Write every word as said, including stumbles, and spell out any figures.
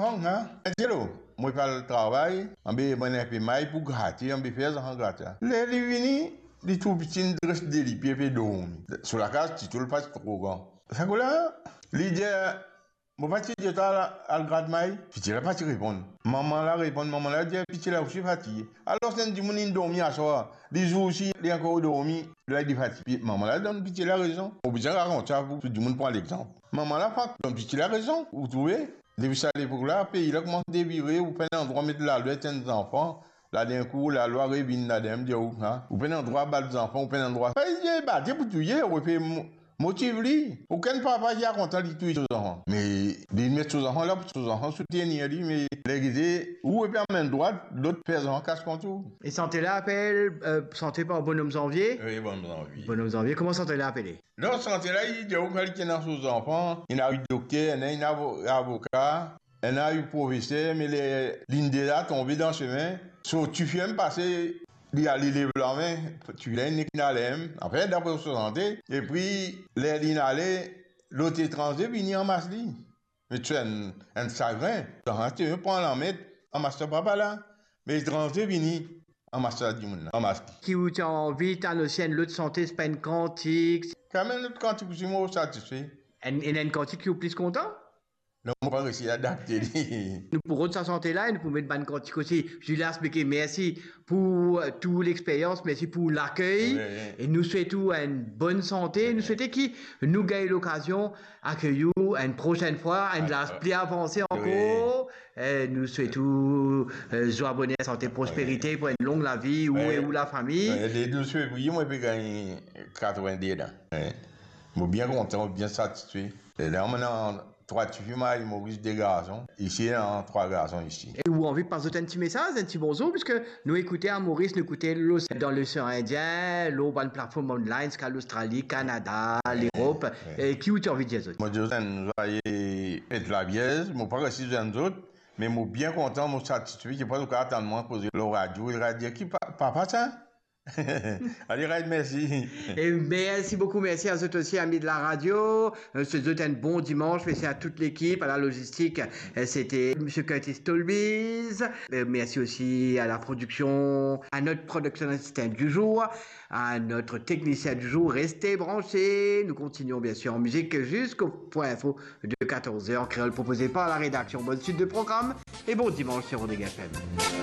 Mama, hein? Angelo, mo pe al travay, anbe bann inpe may pou grate, anbe fer zanfan grate. Ler li vini, li trouv pitin dres de lipie pe dormi. So lakaz ti tou li pa ti tro gran. Sa kou la, li dir, "Mo pa ti dir twa al, al grat may?" Piti la pa ti reponn. Mama la reponn, mama la dir, "Piti la osi fatige." Alor, si enn dimoun inn dormi aswar, li zour osi, li ankor dormi, la li fatige. Pi mama la donn piti la rezon. Mo bizin rakont sa pou tou dimoun pran lexanp. Mama la fak donn piti la rezon, ou trouve? Depi sa lepok la, pei la koumans devire, ou pena drwa met lalwa et enn zanfan, la dernkou, lalwa revinn la dernie, dir ou, ha? Ou pena drwa bat zanfan, ou pena drwa. Fey, ye, bate pou touye, ou pe mo-, motiv li. Okenn papa ki a kontan li touy so zanfan. Me li met so zanfan la pou so zanfan soutenir li, me ler gete, ou pe amenn drwa, lot fer zanfan kas kont ou. E sante la apel, euh, sante par Bonhomme Janvier? Wi, Bonhomme Janvier. Bonhomme Janvier, kouma sante la apele? Non, sante la, li dir ou kan li ti ena so zanfan, ena wi dokter, ena, ena avo-, avoka, ena wi profeser, me ler linn de la tonbe dan sime, so tifi mem pase, li al, li lev lame, tifi la inn nek inn ale mem, anfin, dapre so sante, epi ler linn ale, lot etranze vini anmas li. Me ti enn, enn sagrin, dan ti pran lanmet, anmas sa papa la. Me etranze vini, anmas sa dimoun la, anmas li. Ki ou ti anvi tann osi enn lot sante, sipa enn kantik? Kanmem lot kantik osi, mo satisfe. Enn, enn, enn kantik ki ou plis kontan? Non, mo pa resi adapte li. Nou pou rod sa sante la e nou pou met bann kantik osi. Julia Smeke, mersi pou, euh, tou lexperyans, mersi pou lakey. Wi, wi. E nou swet ou enn bonn sante. Wi. Nou swete ki nou gagn lokazion akey ou enn prosenn fwa, enn laz pli avanse ankor. Wi. E nou swet ou, euh, zwa, boner, sante, prosperite pou enn long lavi, ou e ou lafami. Wi, le douz fevriye, mo pe gagn katrevin-de la. Wi. Mo bien kontan, mo bien satisfe. E la, mo ena trwa tifi, mari, Moris, de garson. Isi, ena trwa garson isi. E ou anvi pas zot enn ti mesaz, enn ti bonzour, piski nou ekoute a Moris, nou ekoute lor, dan losean Indien, lor bann platform online, ziska Lostrali, Kanada, Lerop. Wi. E ki ou ti anvi dir zot? Mo dir zot enn zwaye fet Lavierz, mo pa resi zwenn zot, me mo bien kontan, mo satisfe, ki pa zot kapav tann mwa koze lor radio, radio ki pa, pa, pa sa. Alright, mersi. E mersi boukou, mersi a zot osi, ami de la radio. Euh, swet zot enn bon dimans, mersi a tout lekip, a la logistik, euh, sete Misie Curtis Tolbiz. Euh, mersi osi a la prodiksion, a not prodiksion asistan di zour, a not teknisien di zour. Reste branche, nou kontinion biensir an mizik ziska Point Info de katorz er an kreol, propoze par la redaksion. Bonn swit de program e bon dimans sur Rodrigues F M.